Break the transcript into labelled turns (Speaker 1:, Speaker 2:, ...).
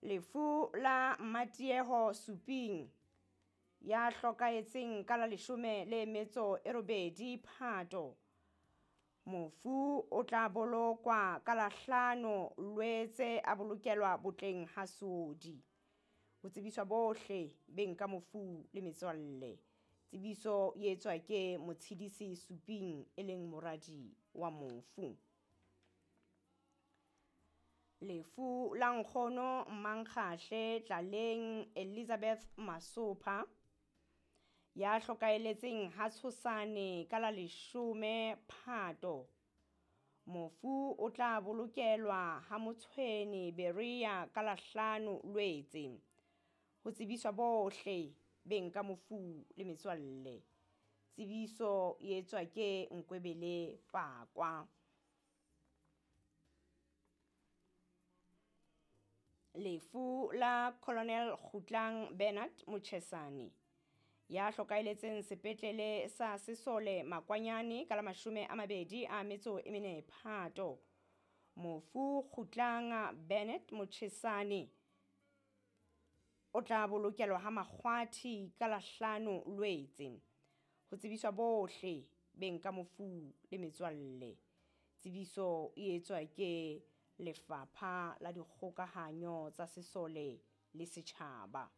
Speaker 1: Lefu la Mmatieho Suping ya hlokahetseng ka la 18 Phato. Mofu o tla bolokwa ka la 5 Loetse a bolokelwa botleng ha Seodi. Ho tsebiswa bohle beng ka mofu le metswalle. Tsebiso e etswa ke Motshidisi Suping e leng moradi wa mofu. Lefu la nkgono Mmankgahle Tlaleng Elizabeth Masopha ya hlokaeletseng ha Tshosane ka la 10 Phato. Mofu o tla bolokelwa ha Motshweni Berea ka la 5 Loetse. Ho tsebiswa bohle beng ka mofu le metswalle. Tsebiso e etswa ke Nkwebele Pakwa. Lefu la Colonel Kgutlang Bernard Mochesane ya hlokaeletseng sepetlele sa Sesole Makwanyane ka la 24 Phato. Mofu Kgutlang Bernard Mochesane o tla bolokelwa ha Makgwathi ka la 5 Loetse. Ho tsebiswa bohle beng ka mofu le metswalle. Tsebiso e etswa ke Lefapha la Dikgokahanyo tsa Sesole le Setjhaba.